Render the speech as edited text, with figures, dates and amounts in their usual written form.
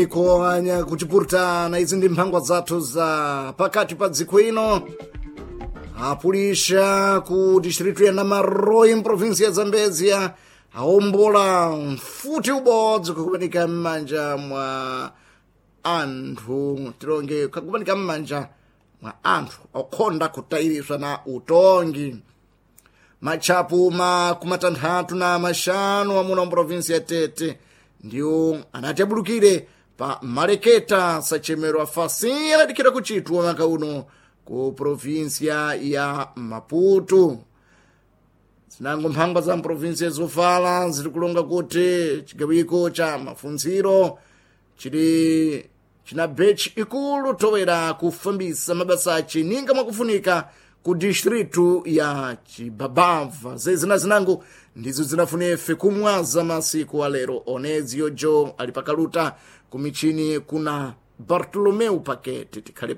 Ikoanya kuchipurutana izi ndi mphangwa zathu za pakati pa dziko ino. Apulisha ku distritu ya Namaroi mprovinsi ya Zambezia aombola mfuti ubodzi kukumanika m'manja mwa anthu tilonge kakumanika m'manja mwa anthu okhonda kutayiriswa na utongi. Matchapu makumatanthatu na maxanu amuna mprovinsi ya Tete ndiwo anati abulukire pa maleketa sachemero afasi anadikhira kuchitwa mwaka uno ku provinsia ya Maputo. Zinango mphangwa za mprovinsia zofala ziri kulonga kuti chigawiko cha mafunziro chili china bechi ikulu towera kufambisa mabasa ace ninga mwakufunika ku distritu ya Chibabava. Zezina zinango ndizo zinafunefe kumwaza masiku alero. Onezio Jo ali pakaluta kumichini kuna Bartolomeu Pakete. Tikhale